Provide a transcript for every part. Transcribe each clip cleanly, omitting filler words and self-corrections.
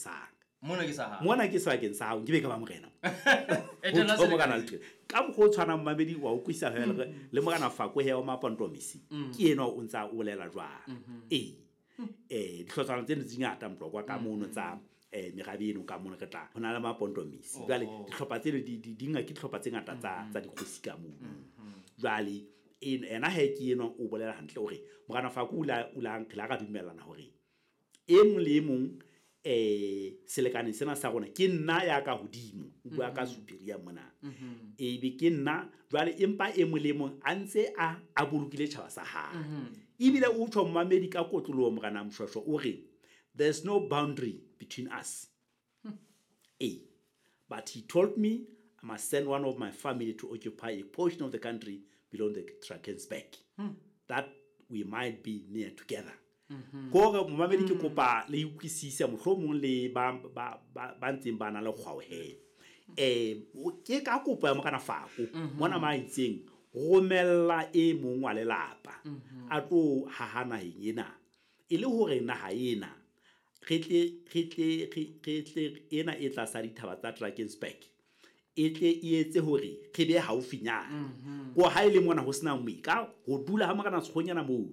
sa ka. Mona ke sa hao. Mona ke sebakeng sa hao, nke be ka ba morena. Etela Ho morena selekane. le ka mokgwa o tshwanang mamedi wa utlwisisa hela le morena Fako he wa Mapontomisi. Ke enwa o ntsa o bolela jwang. Ee. Dihlotshwana tseno di ngata Motlokwa ka mono tsa merabe eno ka mono re tla. Ho na le Mapontomisi. Jwale dihlopha tseno di ke dihlopha tse ngata tsa dikgosi ka mono. Jwale ena he ke enwa o bolela hantle hore morena Fako o la re la dumellana hore e mong le e mong selekane sena sa rona ke nna ya ka hodimo, o bua ka superior mona. Ebe ke nna jwale, empa e mong le mong a ntse a bolokile tjhaba sa hae. Ebile o tjho mmamedi ka kotloloho morena Moshoeshoe o re there's no boundary between us. But he told me I must send one of my family to occupy a portion of the country below the Drakensberg, that we might be near together. Kore momamedi ke kopa le utlwisise mohlomong le ba ntseng ba na le kgwao he. Ke ka kopo ya morena Fako mona ma itseng romella e mong wa lelapa a tlo haha naheng ena e le hore naha ena re tle ena e tlasa dithaba tsa Drakensberg e tle e etse hore re be haufinyana. Ko ha ile mona ho sena moika ho dula ha morena Sekgonyana mono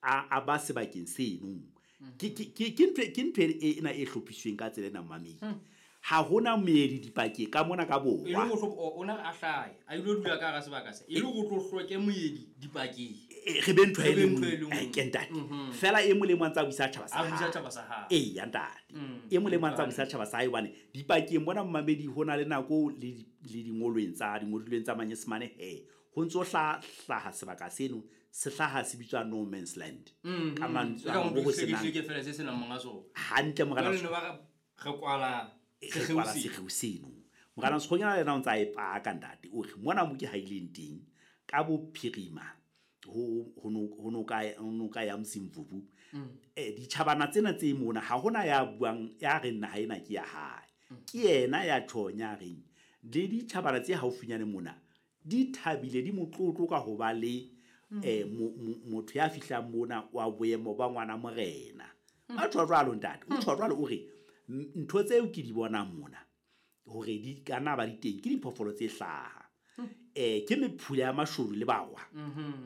a ba sebakeng seno. Ke ntho ena e hlophisweng ka tsela ena mamedi. Ha hona moedi dipakeng ka mona ka borwa. E le hore o na a hlahe, a ilo dula ka hara sebaka se. E le hore o tlo hloke moedi dipakeng. Re be ntho e Re be le ntho e nngwe. le nngwe. Ke ntate. Fela e mong le mong a ntse a busa tjhaba sa A busa hae. tjhaba sa hae. Ee, ya ntate. E mong le mong a ntse a busa tjhaba sa hae hobane dipakeng mona mmamedi ho na le nako le dingolweng tsa dingodilweng tsa Manyesemane he. Ho ntso hlaha sebaka seno, se hlaha se bitswa no man's land. Ka mantswe E ka a motho ho se senang. ke fela se senang monga sona. Hantle morena Jwale ne ba re kwala Re sekgeo kwala seno. sekgeo seno. Morena Sekgonyana le yena o ntsa e paka ntate. O re mona mo ke haileng teng ka bophirima ho noka ya Mzimvubu. Ditjhabana tsena tse mona ha hona ya buang ya reng naha ena ke ya hae. Ke yena ya tjhong ya reng le ditjhabana tse haufinyane mona di thabile di motlotlo ka ho ba le motho ya fihlang mona wa boemo ba ngwana morena. A tjho jwalo ntate, o tjho jwalo o re ntho tseo ke di bonang mona hore di ka nna ba di teng ke diphoofolo tse hlaha. Ke mephula ya mashodu le barwa.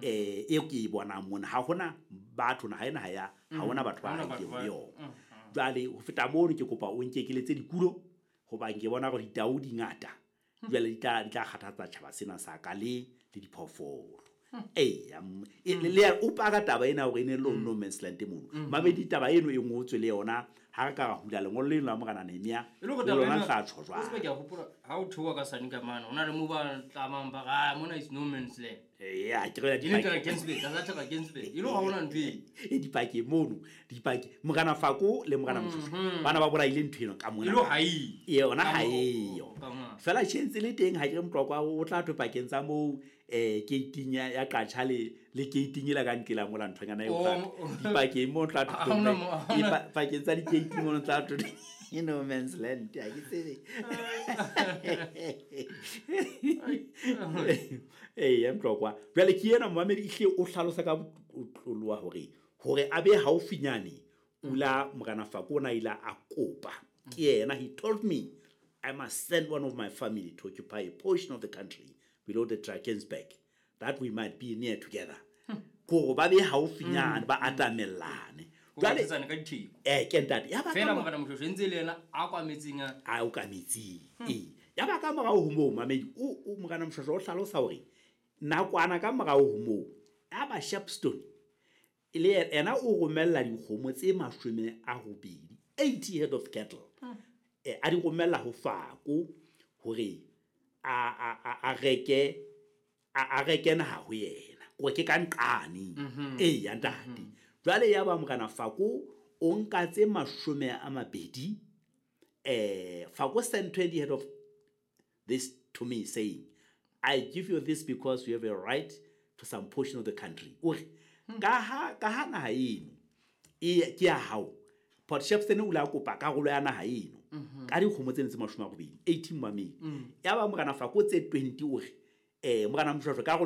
E ke e bonang mona ha hona batho naha ena ha ya, ha hona batho ba Ha hona haileng batho ba- ho yona. Jwale ho feta mono ke kopa o nkekeletse dikulo hobane ke bona hore ditau di ngata. Jwale di tla kgathatsa tjhaba sena sa ka le diphoofolo. Le ya o paka taba ena hore e ne le no man's land mono. Mamedi taba eno e ngotswe le yona ha re ka ra hula lengolo leno la morena Nehemia, E le hore le taba lona ena- tla tjho jwang. O tsebe ke a hopola ha o theoha ka sane ka mane, ho na le moo ba tlamang ba re, ah, mona is no man's land. Ya, ke re E le dipakeng. Drakensberg, tlasa Drakensberg. E le hore ha hona ntho e. E dipakeng mono, dipakeng. Morena Fako le morena Moshoeshoe, bana ba bolaile ntho eno ka mona. E le hore ha eyo. E yona Ka ha mo- eyo. ka mona. Fela tjhe ntse le teng ha ke re Motlokwa o tla thwe pakeng tsa moo, keiting ya Qacha le keiting ela ka nqela mola nthonyana eo Oh, tla oh. dipakeng moo tla thwe Ha hona mo-, ha hona- pakeng tsa dikeiting mono tla thwe no man's land, ha ke tsebe. Ee, ya Motlokwa. Jwale ke ena momamedi ehlile o hlalosa ka botloloha hore a be haufinyane o la morena Fako o na ile a kopa. Ke yena, he told me I must send one of my family to occupy a portion of the country below the Drakensberg that we might be near together. Kore ba be haufinyane, ba atamellane. Ho Jwale batletsana ka ditheko. Ke ntate. Ya ba ka Fela mo- morena Moshoeshoe ntse le yena a kwa metsing a- A o ka metsing. Ee. Ya ba ka morao ho moo, mamedi, o morena Moshoeshoe o hlalosa hore nakwana ka morao ho moo, ya ba Shepstone, e le yena o romella dikgomo tse 80, 80 head of cattle. A di romella ho Fako hore a reke naha ho yena. Kore ke ka nqane. Ee, ya ntate. Jwale ya ba morena Fako o nka tse 20, Fako sent 20 head of this to me saying, I give you this because you have a right to some portion of the country. O re, ka ha naha eno, e, ke ya hao. Port Shepstone o ile a kopa karolo ya naha eno. Ka dikgomo tseno tse 80, 18 mamedi. Ya ba morena Fako tse 20 o re, morena Moshoeshoe, karolo